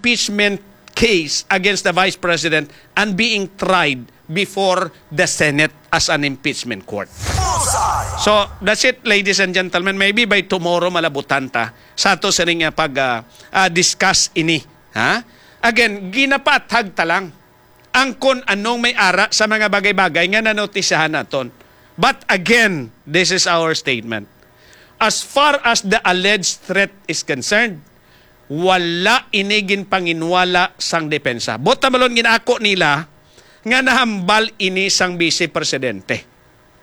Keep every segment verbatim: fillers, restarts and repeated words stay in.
impeachment case against the Vice President and being tried before the Senate as an impeachment court. So, that's it, ladies and gentlemen. Maybe by tomorrow, malabutan ta sa ato sining, ah, pag, ah, ah, discuss ini. Ha? Again, ginapathag ta lang ang kon anong may ara sa mga bagay-bagay nga nanotisyahan naton. But again, this is our statement. As far as the alleged threat is concerned, wala ini ginpanginwala sang depensa. Buot silingon, gin-ako nila nga nahambal ini sang Vice Presidente.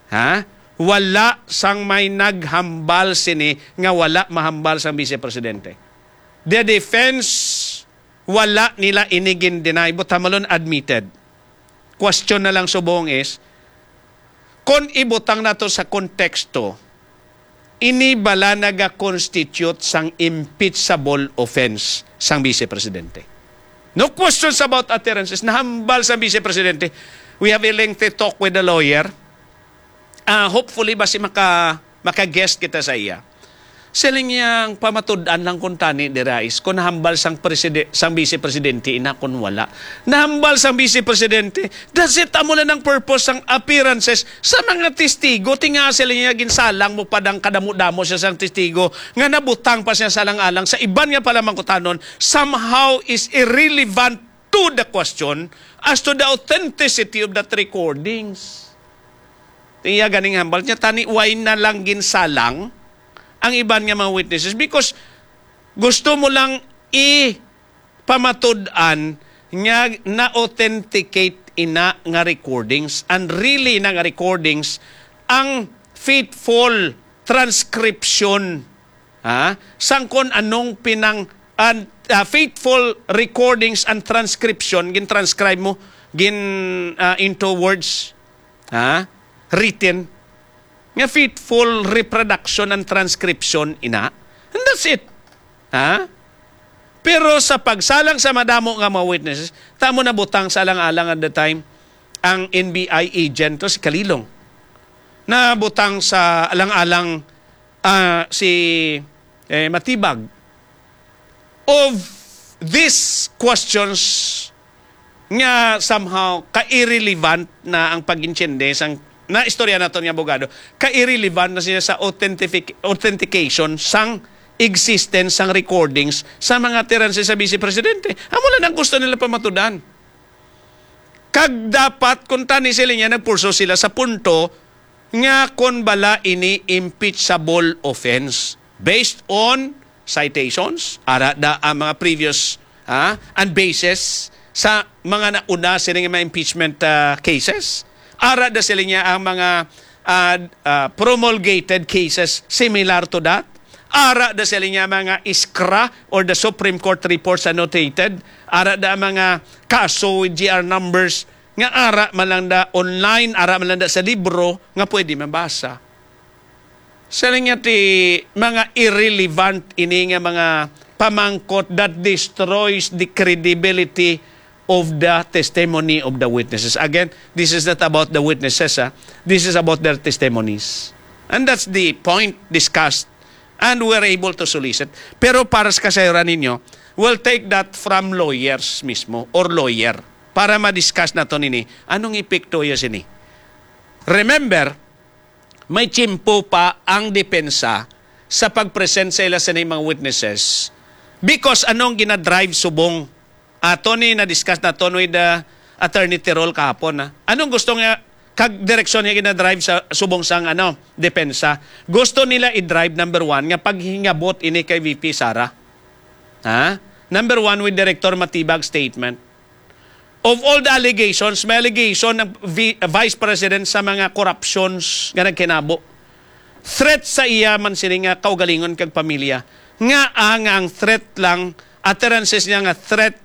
Ha? Wala sang may naghambal sini nga wala mahambal sang Vice Presidente. The defense, wala nila ini gin-deny, buot silingon, admitted. Question na lang subong is, kon ibutang nato sa konteksto, ini bala naga-constitute sang impeachable offense sang Vice Presidente? No questions about utterances. Nahambal sang Vice Presidente. We have a lengthy talk with the lawyer. Ah, hopefully, basi maka, maka-guest kita sa iya. Siling niya, ang pamatud-an lang kuntani dira is kung nahambal sang preside-, sang Vice Presidente ina, kung wala. Nahambal sang Vice Presidente, that's it, amo na nang purpose sang appearances sa mga testigo. Ti nga, siling niya, ginsalang mo pa dang kadamo-damo siya sang testigo nga nabutang pa siya sa alang-alang sa iban nga palamangkutanon, somehow is irrelevant to the question as to the authenticity of that recordings. Iya ganing hambal niya, tani why na lang ginsalang ang iban nga mga witnesses? Because gusto mo lang ipamatud-an nga na-authenticate ina nga recordings, and really na nga recordings, ang faithful transcription, ha, sang kon anong pinang-, an-, ah, faithful recordings and transcription, gin-transcribe mo, gin, ah, into words, ha, written, nga faithful reproduction and transcription ina. And that's it. Ha? Pero sa pagsalang sa madamo nga mga witnesses, tamo nabutang sa alang-alang at the time ang N B I agent, to si Kalilong. Nabutang sa alang-alang, ah, si, eh, Matibag. Of these questions nga somehow ka-irrelevant na ang pag-intindi sang naistorya naton nga abogado, ka-irrelevant na siya sa authentific-, authentication sang existence sang recordings sa mga utterances sa Vice Presidente. Amo lang ang gusto nila pamatud-an. Kag dapat, kung tani sila niya, nagpurso sila sa punto nga kon bala ini impeachable offense based on citations, ara da ang mga previous, ah, and basis sa mga nauna sila nga mga impeachment, ah, cases. Ara da sila niya ang mga, ah, ah, promulgated cases similar to that. Ara da sila niya mga iskra or the Supreme Court reports annotated. Ara da ang mga kaso with G R numbers nga ara man lang da online, ara man lang da sa libro nga pwede mabasa. Sa nga ti mga irrelevant ini nga mga pamangkot that destroys the credibility of the testimony of the witnesses. Again, this is not about the witnesses, ah. This is about their testimonies. And that's the point discussed. And we're able to solicit. Pero para sa kasayuran ninyo, we'll take that from lawyers mismo or lawyer para ma-discuss naton ini. Anong epekto ya sini? Remember, may tiyempo pa ang depensa sa pag-present sa ila sini mga witnesses. Because anong ginadrive subong ato ni na-discuss naton with, uh, Attorney Tirol kahapon, ha? Anong gusto nga kag direksyon nga ginadrive sa subong sang, ano, depensa? Gusto nila i-drive, number one, nga paghingabot ini kay V P Sara. Ha? Number one, with Director Matibag statement. Of all the allegations, may allegation ng vi-, Vice President sa mga corruptions nga nagkinabo. Threat sa iya man sini nga kaugalingon kag pamilya. Nga, ah, nga ang threat lang, utterances niya nga threat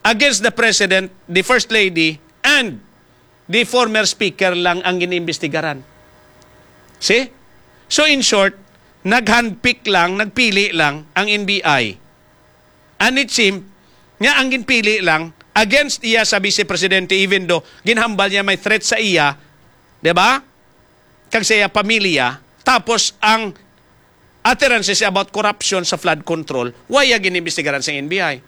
against the President, the First Lady, and the former Speaker lang ang giniimbestigaran. See? So, in short, nag-handpick lang, nagpili lang ang N B I. And it seemed nga ang ginpili lang against iya sa Vice Presidente, even though ginhambal niya may threat sa iya, di ba? Kag sa iya pamilya, tapos ang utterances about corruption sa flood control, wala giniimbestigaran sa N B I.